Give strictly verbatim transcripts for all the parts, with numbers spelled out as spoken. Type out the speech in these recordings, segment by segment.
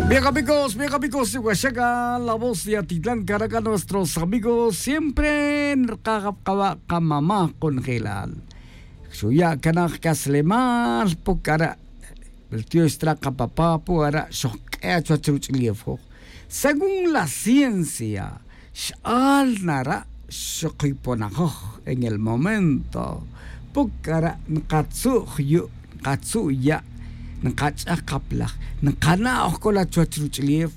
Bien amigos, bien amigos, iwaxaka la voz de atitlan karaca nuestros amigos siempre nrkajab kaba kamama' konjelal. Xuya' kanaj kaslemal pukara'. Beltiox tra kapapa pukara' xojk'e' chuwach ruch'ulef joj. Según la ciencia, x'al nara' xokiponajoj en el momento pukara' nkatzu' jyu' nkatzu' ya' nkach'aj kaplaj, nkana'oj k'ola chuwach ruch'ulef.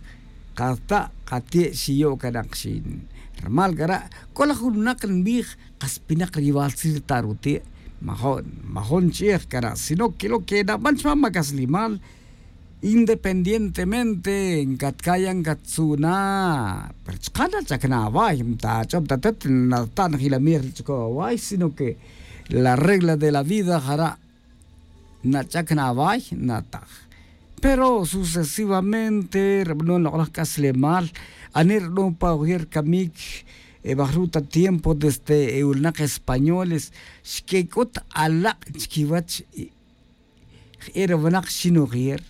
Kata' kati' xiyo' kanakxin. Rmal kara' k'ola jun winak nbij kas pinak rival si rta' ruti'. Majo'n majo'n ch'ij kara' sino que lo que naban chman ma kaslimal. Independientemente nkatkaya' nkatzu' na pero chka' nach'ak na away mtach'ob tatet nata' najilamej ri ch'uko away sino que la regla de la vida jara' nach'ak na away nataj. Pero sucesivamente ri b'anon loq'laj k'aslemal ani ri b'anon pa ojer kamik. Bajru' ta tiempo desde e wulnaq españoles xkek'ut alaq' chkiwach. Je'e ri winaq xinojer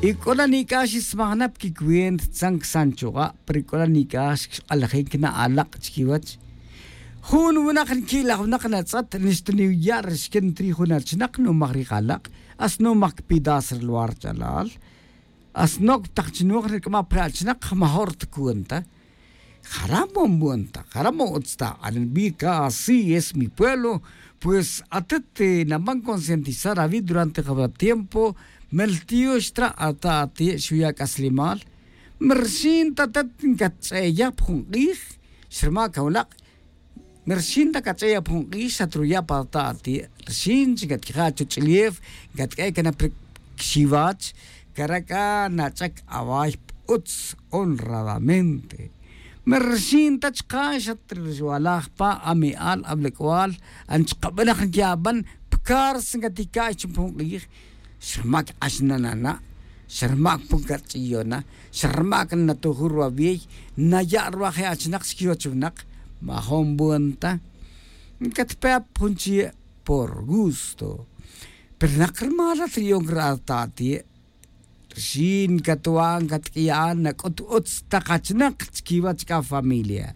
y k'o na nik'aj xismaj na pa kicuenta tzan ksan chuqa' pero k'o na nik'aj xkq'alajik na alaq' chkiwach. Jun winaq nki'laj winaq natz'at nixta niya' ri xken ntrij jun achinaq numaj ri jalaq'. Asnomaj kpidas ri luwar ch'alal. Asnok' taq chinoj ri k'ama' pa je' achinaq majo' ri ta cuenta. Jara' mo nbon ta jara' mo utz ta anilbir ka así es mi pueblo. Pues atet naban concientizar awi' durante jawra tiempo. Mel tiyo xtra' ata' ati' xuya' k'aslemal. Merxin ta atet nkatch'e'eya pa jun q'ij xrma' kawlaq'. Merxin ta kach'e'eya pa jun q'ij xatruya' pa ata' ati' rxin chi katkija' chuch'ulef. Katk'e' kanap ri xiwach kara' k'a nach'ak away pa utz honradamente. Merxin ta chka' xatrwalaj pa ame'al ablak'wal. Ani chka' b'anaj nki'aban pa carce nkatika'y chi pa jun q'ij. Xrmak' k'ax nanana'. Xrmak' pun kach'iyo na. Xrmak' natuju' ruwawey. Naya' ruwaje' achnaq chi kiwach winaq. Majo' nbon ta. Nkatpe' pa jun chi' por gusto. Pero naq rmal rat riyon ri ata' ati'. Rxin katwa' nkatk'iya' nak'ut utz taq achnaq chkiwach k'a familia.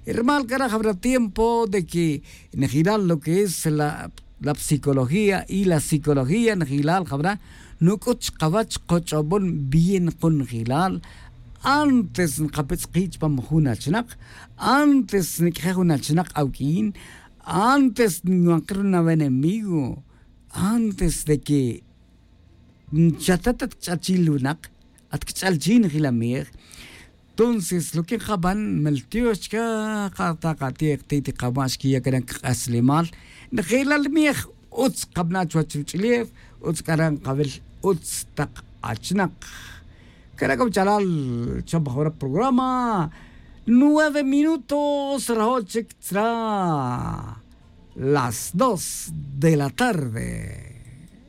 Rmal k'a raj abra tiempo de que nejilal lo que es la psicología y la psicología nejilal jabra nuk'ut chqawach qoch'obon bien qonejilal. Antes nqapitz'qi' chpam jun achnaq antes nik'je' jun achnaq awk'in antes nwanqi' runa wenemigo antes de que nchatat atkch'al chi' li winaq atkch'al chi' nejilamej. Tonces lo que nqaban meltiox chka' qata' qati'ej ti' ti qama' xkiya' kanak k'aslemal. Nejelal miej utz qabana' chuwach ruch'ulef. Utz k'ara' nqawil utz taq achnaq. Kara' k'awchalal cham jawra programa. Nueve minutos rajo' chik tzra' las dos de la tarde.